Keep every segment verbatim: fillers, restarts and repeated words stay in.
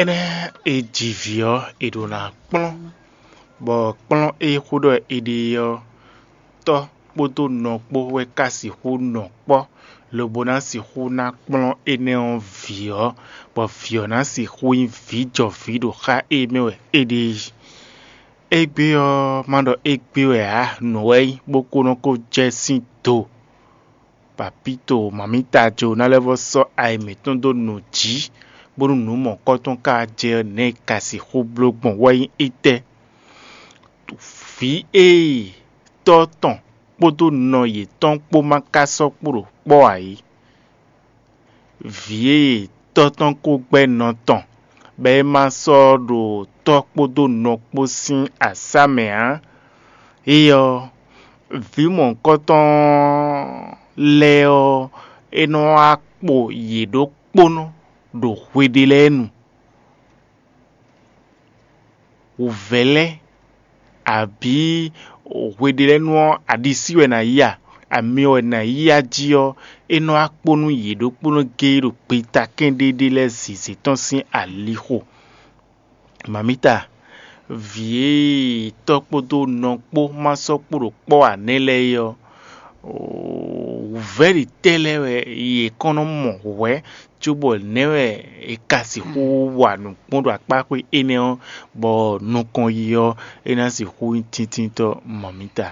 Énɛ́ e ji vǐ ɔ́, è ɖǒ ná kplɔ́n, bɔ kplɔ́n e xó ɖɔ è ɖe ɔ́, tɔ́ kpódó nɔ kpó wɛ ka sixú nɔ kpɔ́, lobo ná sixú ná kplɔ́n énɛ́ ɔ́ vǐ ɔ́, bɔ vǐ ɔ́ ná sixú nyí vǐjɔvǐ ɖo xá e mɛ wɛ é ɖe é. Égbé ɔ́, má ɖɔ égbé wɛ ǎ, nǔ wɛ nyí, bó ko nɔ ko jɛ sín do. Papíto, mamítajo ná lɛ́ vɔ́ sɔ́ ayi mǐtɔn dó nǔ jí, bónú nǔ mɔ̌kɔtɔn ka jɛ ɔ́, nɛ̌ è ka sixú bló gbɔn wɛ nyí étɛ́? Vǐ e tɔ́ tɔn kpódó nɔ yětɔn kpó ma ka sɔ́ kpo ɖo kpɔ́ ǎ é. Vǐ e tɔ́ tɔn ko gbɛ́ nɔ tɔn, bɔ é ma sɔ́ ɖo tɔ́ kpódó nɔ kpó sín asá mɛ ǎ. Éyɛ́ ɔ́, vǐ mɔ̌hunkɔtɔn lɛ́ɛ ɔ́, é nɔ wá kpo yě ɖokpónɔ ɖo hwe ɖé lɛ́ɛ nu. Wǔvɛ́ lɛ́ɛ, abǐ hwe ɖé lɛ́ɛ nu ɔ́, aɖisí wɛ è nǎ yí a, amyɔ wɛ è nǎ yí a jí ɔ́, é nɔ wá kpo nú yě ɖokpónɔ géé ɖo gbeta kɛ́n ɖé ɖé lɛ́ɛ zǐzé tɔn sín alixo. Mamíta, vǐ e tɔ́ kpódó nɔ kpó ma sɔ́ kpo ɖo kpɔ́ ǎ nɛ́ lɛ́ɛ é ɔ́, wǔvɛ́ ɖě tɛ́ lɛ́ɛ wɛ yě kɔn nɔ mɔ hwɛ̌, cóbɔ nɛ̌ wɛ è ka sixú wa nǔ kpɔ́n ɖo akpá xwé énɛ́ ɔ́, bɔ nukɔn yi ɔ́, é ná sixú nyí tíntínntɔ́ mamíta?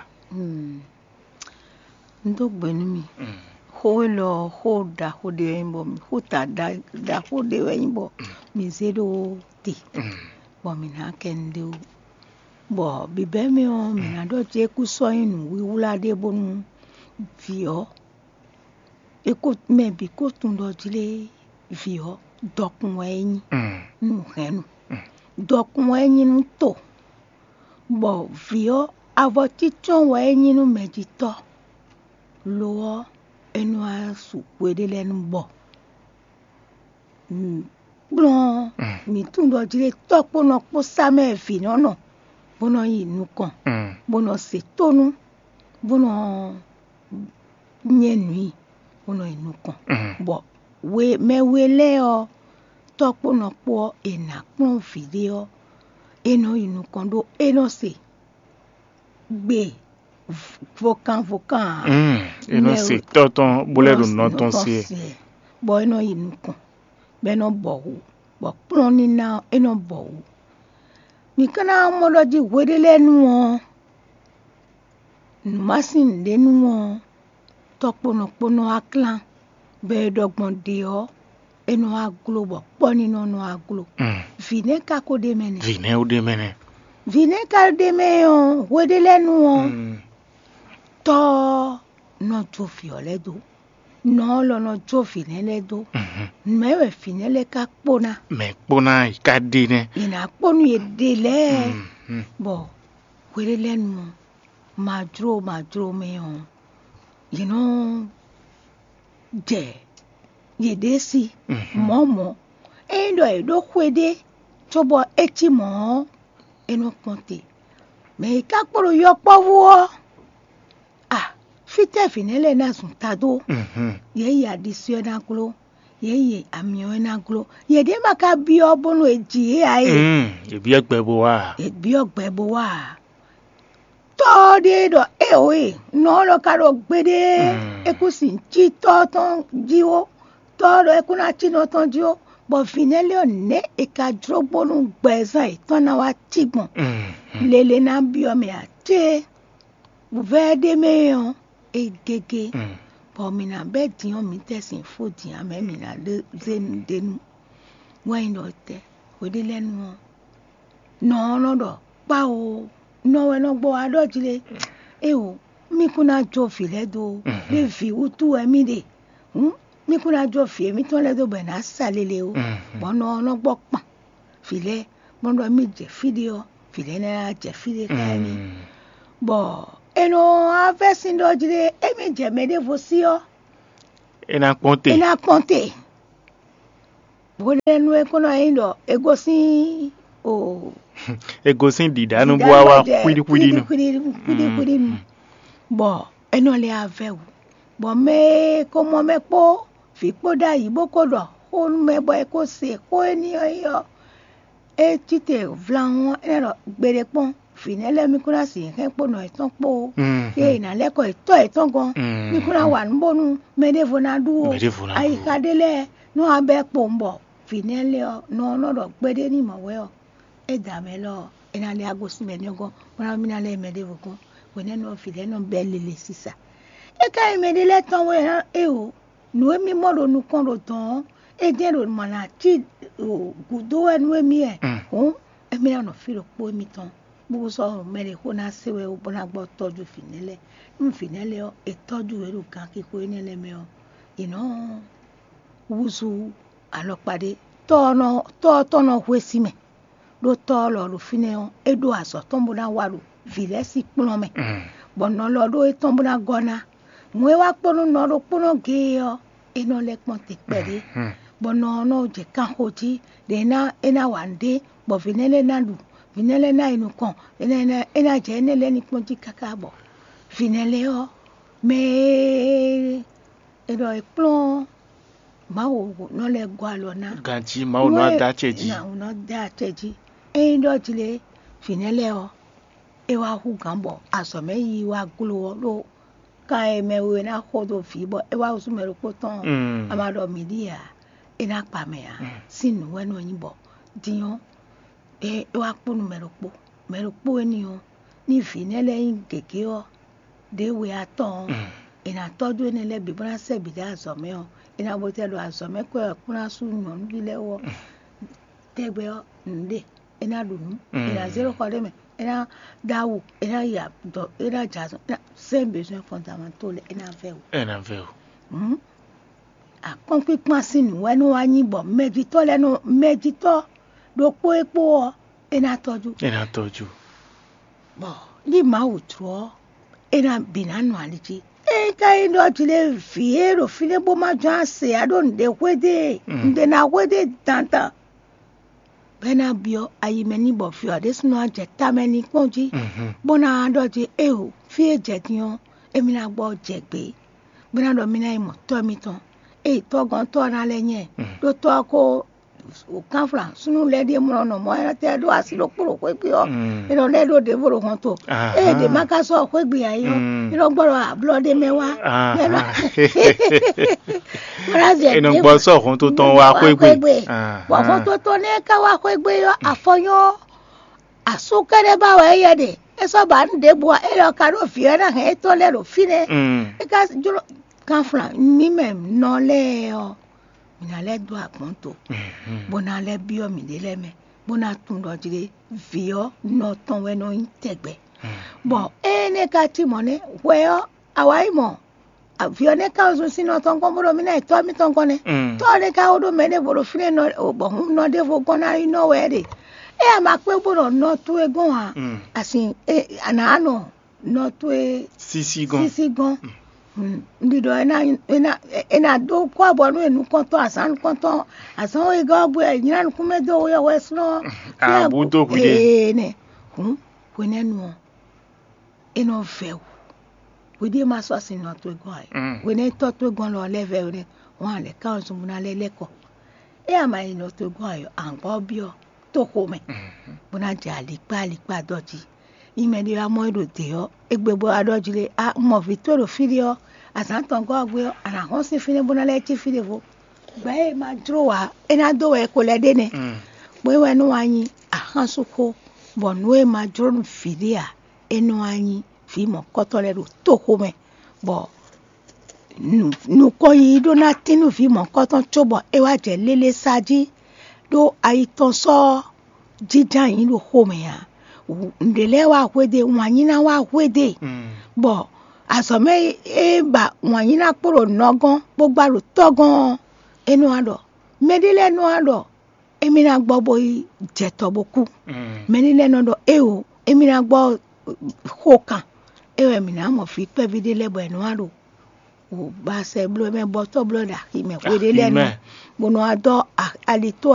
Un dó gbe nú mi. Xó élɔ́ ɔ́, xó ɖaxó ɖé wɛ nyí bɔ mi xó ta ɖa- ɖaxó ɖé wɛ nyí bɔ mi zé ɖó te, bɔ mi ná kɛ nu ɖé wú. Bɔ bǐbɛ́ mɛ ɔ́, mǐ ná ɖɔ jí é kú sɔ́ nyí nǔwiwlá ɖé bónú vǐ ɔ́, é kó mɛ bǐ kó tunwun ɖɔ jí lé vǐ ɔ́, dɔkun wɛ é nyí, nú hɛ̌nnu. Dɔkun wɛ é nyí nú to, bɔ vǐ ɔ́, avɔ cícɔ́n wɛ é nyí nú mɛjitɔ́. Lo ɔ́, é nɔ wá su hweɖé lɛ́ɛ nú bɔ kplɔ́n mǐ tunwun ɖɔ jí ɖé tɔ́ kpó nɔ kpó sá mɛ vǐ nɔ nɔ, bó nɔ yi nukɔn, bó nɔ se tónú, bó nɔ nyɛ nǔ i, bó nɔ yi nukɔn. Bɔ we mɛ we lɛ́ɛ ɔ́, tɔ́ kpó nɔ kpó ɔ́, è nǎ kplɔ́n vǐ ɖé ɔ́, é nɔ yi nukɔn ɖó é nɔ se gbe vokan vokan ǎ. Mm, é nɔ se tɔ́ tɔn bó lɛ́ ɖo nɔ tɔn se. Bɔ é nɔ yi nukɔn, bɔ é nɔ bɔ wǔ, bɔ kplɔ́n ní ná ɔ́, é nɔ bɔ wǔ. Mi ka ná mɔ ɖɔ jí hweɖé lɛ́ɛ nu ɔ́, nǔ ma sín nǔɖé nu ɔ́, tɔ́ kpó nɔ kpó nɔ wá klán, bɔ è ɖɔ gbɔn ɖě ɔ́, é nɔ wá gló, bɔ kpɔ́ ní nɔ nɔ wá gló. Vǐ nɛ́ ka ko ɖ'é mɛ nɛ́? Vǐ nɛ́ ó ɖ'é mɛ nɛ́. Vǐ nɛ́ ka ɖ'é mɛ ɔ́, hweɖé lɛ́ɛ nu ɔ́, tɔ́ ɔ́ nɔ jó vǐ ɔ́ lɛ́ɛ dó. Nɔ ɔ́ lɔ nɔ jó vǐ nɛ́ lɛ́ɛ dó. Mɛ̌ wɛ vǐ nɛ́ lɛ́ɛ ka kpó ná? Mɛ̌ kpó ná yi ka ɖe nɛ́? È nǎ kpó nú yě ɖe lɛ́ɛ, bɔ hweɖé lɛ́ɛ nu ɔ́, majló majló mɛ ɔ́, yě nɔ jɛ yěɖée sí mɔ̌ mɔ̌. Ényí ɖɔ è ɖó xwe ɖé cóbɔ é cí mɔ̌ ɔ́, é nɔ kpɔ́n te. Mɛ e ka kpo ɖo yɔkpɔ́vú ɔ́, a, fítɛ́ vǐ nɛ́ lɛ́ɛ ná zun ta dó? Yě yi aɖisí ɔ́ ná gló, yě yi amyɔ ɔ́ ná gló. Yěɖée ma ka byɔ́ bónú è ji yě ǎ e? Mm, è byɔ́ gbɛ bó wá a? È byɔ́ gbɛ bó wá a? Tɔ́ ɔ́ ɖíe ɖɔ éeǒ e, nɔ ɔ́ nɔ ka ɖo gbeɖé, é kún sin cí tɔ́ ɔ́ tɔn jí ó. Tɔ́ ɔ́ ɖɔ é kún ná cí nɔ tɔn jí ó, bɔ vǐ nɛ́ lɛ́ɛ ɔ́, nɛ̌ è ka jló bónú gbɛzán yětɔn ná wá cí gbɔn? Lele ná byɔ́ mɛ ǎ cé? Wǔvɛ́ ɖé mɛ ɔ́, é gégé, bɔ mǐ ná bɛ́ din ɔ́, mǐ tɛ́ sin fó din ǎ mɛ, mǐ ná ɖe zé nǔɖé nu. Wɛ nyí ɖɔ tɛ́ hweɖé lɛ́ɛ nu ɔ́, nɔ ɔ́ nɔ ɖɔ kpá o, nɔ wɛ nɔ gbɔ wá ɖɔ jí lé, éeǒ, mì kún ná jó vǐ lɛ́ɛ dó, ɖé vǐ wútu wɛ mì ɖe, hǔn mì kún ná jó vǐ émítɔn lɛ́ɛ dó bɔ è nǎ sa lele ó, bɔ nɔ ɔ́ nɔ gbɔ kpan vǐ lɛ́ɛ, bɔ nɔ ɖɔ mì jɛ fí ɖé ɔ́, vǐ lɛ́ɛ ná jɛ fí ɖé xá émí, bɔ è nɔ wá vɛ́ sín ɖɔ jí lé, émí jɛ mɛ ɖěvo sí ɔ́, é ná kpɔ́n te. É ná kpɔ́n te. Hweɖénu e kó nɔ nyí ɖɔ è gosín o, È gosín ɖiɖa nu bó wá wá xwíɖíxwíɖí nu. Xwíɖíxwíɖí nu, bɔ é nɔ lɛ́ avɛ wǔ, bɔ mɛ e ko mɔ mɛ kpó vǐ kpó ɖ'ayǐ bó ko ɖɔ xó nú mɛ bɔ è ko se xó éní ɔ́ yi ɔ́, é cí te vlahɔn ɔ́, é nɔ ɖɔ gbeɖé kpɔ́n, vǐ nɛ́ lɛ́ɛ mì kún ná sixú hɛn kpó nɔ yětɔn kpó, ée è nǎ lɛ́ kɔ yě tɔ́ yětɔn gɔ́n, mì kún ná wa nǔ bónú mɛ ɖěvo ná ɖú ó. Ayixa ɖé lɛ́ɛ nɔ wá bɛ́ kpowun bɔ vǐ nɛ́ lɛ́ɛ ɔ́, nɔ ɔ́ nɔ ɖɔ gbeɖé ní mɔ̌ wɛ ɔ́, é da mɛ lɔ ɔ́, é ná lɛ́ wá gosín mɛ nɛ́ gɔ́n, bó ná mì ná lɛ́ mɛ ɖěvo gɔ́n, hwenɛ́nu ɔ́, vǐ lɛ́ɛ nɔ bɛ́ lele sisa. É ka nyí mɛ ɖé lɛ́ɛ tɔn wɛ ná é o, nǔ e mì mɔ ɖo nukɔn ɖo dɔ̌n ɔ́, é jɛ́n ɖo mɔ̌ ná cí gǔdo wɛ nú émí wɛ. Hǔn émí ná nɔ fí ɖokpó émítɔn, bó sɔ́ mɛ ɖě xó ná se wɛ bó ná gbɔ tɔ́jú vǐ nɛ́ lɛ́ɛ. Nú vǐ nɛ́ lɛ́ɛ ɔ́, è tɔ́jú yě ɖo ganxixo énɛ́ lɛ́ɛ mɛ ɔ́, è nɔ́ húzú alɔkpa ɖé. Tɔ́ ɔ́ nɔ tɔ́ ɔ́ tɔn nɔ hwesí mɛ, ɖó tɔ́ ɔ́ lɔ ɖo fínɛ́ ɔ́, é ɖó azɔ̌ tɔn bó ná wa ɖo vǐ lɛ́ɛ sín kplɔ́n mɛ. Bɔ nɔ lɔ ɖó é tɔn bó ná gɔ́ ná. Mɔ̌ e wá kpɔ́n nú nɔ ɖokpónɔ géé ɔ́, é nɔ lɛ́ kpɔ́n te kpɛɖé, bɔ nɔ ɔ́ nɔ jɛ kanxo jí, ɖě é ná é ná wa nǔɖé, bɔ vǐ nɛ́ lɛ́ɛ ná ɖu, vǐ nɛ́ lɛ́ɛ ná yi nukɔn, é ná é ná é ná jɛ énɛ́ lɛ́ɛ ní kpɔ́n jí káká bɔ vǐ nɛ́ lɛ́ɛ ɔ́, mɛ e è ɖɔ è kplɔ́n Mawu nɔ lɛ́ gɔ́ alɔ ná. Ganjí Mawu nɔ dó acɛ jí. Mawu nɔ dó acɛ jí. Ényí ɖɔ jí lé, vǐ nɛ́ lɛ́ɛ ɔ́, é wá hú gǎn bɔ azɔ̌ mɛ yiyi wá gló ɔ́ ɖó kan e mɛ we ná xo dó vǐ bɔ é wá húzú mɛ ɖokpó tɔn ɔ́, a ma ɖɔ mǐ ɖíe ǎ, é ná kpa mɛ ǎ. Sín nǔ wɛ nɔ nyí bɔ din ɔ́, é é wá kpó nú mɛ ɖokpó. Mɛ ɖokpó énɛ́ ɔ́, ní vǐ nɛ́ lɛ́ɛ nyí gěgé ɔ́, ɖě we atɔn ɔ́, è nǎ tɔ́jú énɛ́ lɛ́ɛ bǐ bó ná sɛ́ bǐ ɖó azɔ̌ mɛ ɔ́, è nǎ bo tɛ ɖo azɔ̌ mɛ kɔ ɛ kplɔ́n asú nyɔ̌nuví lɛ́ɛ wú ɔ́, tɛgbɛ ɔ́, nǔɖé, é ná ɖu nǔ, é ná zé ɖo xɔ ɖé mɛ, é ná ɖó awu, é ná yi adɔ, é ná jɛ azɔ̌, é ná sɛ́ besoin fɔ́ntamató lɛ́ɛ, é ná vɛ́ wǔ. Ɛ nǎ vɛ o. Hǔn akɔ́nkpínkpán sín nǔ wɛ nɔ wá nyí bɔ mɛjitɔ́ lɛ́ɛ nɔ mɛjitɔ́ ɖokpó e kpó ɔ́, é ná tɔ́jú. Ɛ nǎ tɔ́jú. Bɔ ní Mawu jló ɔ́, é ná bǐ ná nɔ ali jí. Ényí ka nyí ɖɔ jlé vǐ e ɖo fínɛ́ bó má jɔ́n ase ǎ ɖó nǔɖé hwédé, nǔɖé ná hwédé dandan, bɔ é ná byɔ́ ayi mɛ n'i bɔ vǐ ɔ́ ɖésúnɔ ná jɛ tamɛ n'i kpɔ́n jí, bó ná ɖɔ jí éeǒ, fí e jɛ din ɔ́, émí ná gbɔ jɛ gbě, bó ná ɖɔ mì ná yi mɔ tɔ́ mitɔn. Ée tɔ́gɔ́ntɔ́ ɔ́ ná lɛ́ nyɛ, ɖó tɔ́ ɔ́ ko kánflán súnnu lɛ́ɛ ɖíe mlɔ nɔ mɔ̌, é nɔ tɛ ɖó así ɖokpó ɖo xwé gbe ɔ́, é nɔ lɛ́ ɖó ɖěvo ɖo hɔnto. Ée ɖě má ka sɔ́ xwé gbe ǎ é ɔ́, é nɔ gbɔ ɖɔ ablɔ ɖé mɛ wá. Mɛ nɔ Mlazɛ È nɔ gbɔ sɔ́ hɔnto tɔn wá xwé gbe. Bɔ hɔnto tɔn nɛ́ ka wá xwé gbe ɔ́, afɔ nyɔ́ asú kɛ́ɖɛ́ ba wɛ éyɛ́ ɖe. É sɔ́ ba nú ɖěbǔ ɔ́, é lɔ ka ɖó vǐ ɔ́ ná hɛn étɔn lɛ́ɛ ɖo fínɛ́. É ka jló kanflán mǐ mɛ nɔ lɛ́ɛ ɔ́, mǐ ná lɛ́ dó agbɔ̌n to, bó ná lɛ́ byɔ́ mǐɖée lɛ́ɛ mɛ, bó ná tunwun ɖɔ jlé vǐ ɔ́ nɔ tɔn wɛ nɔ nyí tɛgbɛ. Bɔ énɛ́ ka cí mɔ̌ nɛ́, hwɛ ɔ́, a wǎ yi mɔ vǐ ɔ́ nɛ́ ka zun sín nɔ tɔn gɔ́n bó ɖɔ mì ná yi tɔ́ mítɔn gɔ́n nɛ́. Tɔ́ ɔ́ nɛ́ ka wó ɖó mɛ ɖěvo ɖo fínɛ́ nɔ bɔ hǔn nɔ ɖěvo gɔ́n ná yi nɔ wɛ ɖe. É a ma kpé bó ɖɔ nɔ towe gɔ́n ǎ, asin a nǎ nɔ nɔ towe sísí gɔ́n. Sísí gɔ́n. Un ɖi ɖɔ é ná é ná é ná ɖó kɔ́ bɔ nú e nukɔntɔn azǎn nukɔntɔn azǎn wegɔ́ ɔ́ gbe wɛ è nylá nukúnmɛ dó we ɔ́ wɛ slɔ́n. Abú dó hwiɖée. Ee nɛ. Hǔn hwenɛ́nu ɔ́, é nɔ vɛ wǔ. Hwiɖée ma sɔ́ sin nɔ towe gɔ́n ǎ. Hwenɛ́ tɔ́ towe gɔ́n lɔ lɛ́ vɛ hwenɛ́ hɔn a lɛ̌ ká ɔ́ zun bó ná lɛ́ lɛ́ kɔ. É a ma yi nɔ towe gɔ́n ǎ ɔ́, a nǎ gbɔ byɔ́ toxo mɛ, bó ná jɛ alikpá alikpá dɔ́ jí. Nyi mɛ ɖé wá mɔ é ɖo dě ɔ́, égbé bó wá ɖɔ jí lé, a un mɔ vǐ towe ɖo fí ɖé ɔ́, azǎn tɔn gɔ́ ɔ́ gbe ɔ́, a nǎ hɔn sín fínɛ́ bó ná lɛ́ cí fí ɖěvo. Gbɛ̌ e ma jló ǎ, é ná dó wɛ è ko lɛ́ ɖe nɛ́. Bó é wɛ nú wá nyí axánsúxó, bɔ nǔ e ma jló nú vǐ ɖé ǎ, é nɔ wá nyí vǐ mɔ̌kɔ́tɔ́ lɛ́ɛ ɖo toxo mɛ, bɔ nukɔn yiyi ɖó ná tín nú vǐ mɔ̌kɔ́tɔn cóbɔ é wá jɛ lélé sa jí, ɖó ayi tɔn sɔ́ jínjɔ́n ayǐ ɖo xomɛ ǎ. Nǔɖé lɛ́ɛ wá hwedó e, wǎn nyí ná wá hwedó e, bɔ azɔ̌ mɛ e ba wǎn nyí ná kpo ɖo nɔ gɔ́n bó gbá ɖo tɔ́ gɔ́n ɔ́, é nɔ wá ɖɔ mɛɖé lɛ́ɛ nɔ wá ɖɔ émí ná gbɔ bó yi jɛ tɔ bó kú. Mɛɖé lɛ́ɛ nɔ ɖɔ éeǒ, émí ná gbɔ xo kan, é wɛ mǐ ná mɔ vǐ kpɛví ɖé lɛ́ɛ bɔ è nɔ wá ɖo wǔ ba sɛ bló mɛ bɔ tɔ́ bló ɖo axi mɛ hweɖé lɛ́ɛ nu, bó nɔ wá dɔ́ alitó